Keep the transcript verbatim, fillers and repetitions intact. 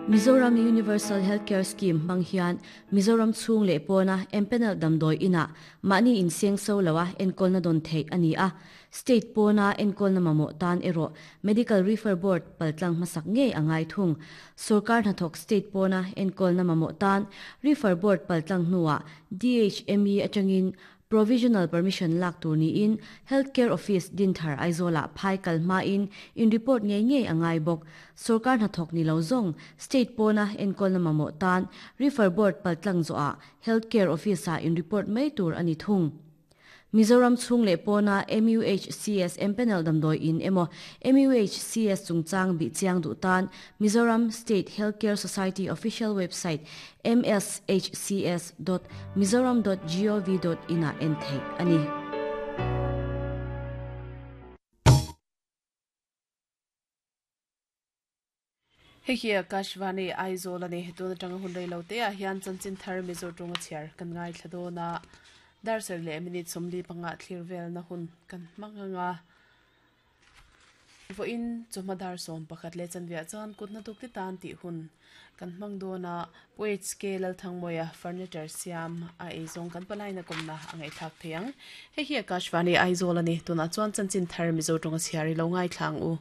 Mizoram Universal Healthcare Scheme hmang hian Mizoram chhung leh pawna empanel damdawi ina mahni inseng so loa enkawlna dawn theih ani a. State pawna enkawlna mamawh tan erawh Medical Refer Board paltlang hmasak ngei angai thung. Sarkar hnathawk state pawna enkawlna mamawh tan Refer Board paltlang hnuah D H M E atangin provisional permission lak tur niin Healthcare Office Dinthar Aizola phai kalma in in report ngei ngei angai bawk. Sarkar hnathawk ni lo zawng state pawna enkawlna mamawh tan Refer Board paltlang zawhah Healthcare Office a in report mai tur ani thung. Mizoram chhung leh pawna M U H C S empanel damdawi in emaw M U H C S chungchang bi chiang duh tan Mizoram State Healthcare Society official website m s h c s dot mizoram dot gov dot in a en thei ani. Hei hi Akashvani Aizawl ani tuna tanga hun rei lo te ah hian chanchin thar Mizo tawnga chhiar kan ngai thla dawn a. Dar sar leh minute sawmli panga thlir vel na hun kan hmang anga voin chawhma dar sawm pakhat leh chanveh chuan kut hnathawk te tan tih hun kan hmang dawn a. Pu H K Lalthangmawia furniture siam a eizawng kan palaina kawmna a ngaihthlak thei ang. Hei hi Akashvani Aizawl ani tuna chuan chanchin thar Mizo tawnga chhiar i lo ngai thlang u.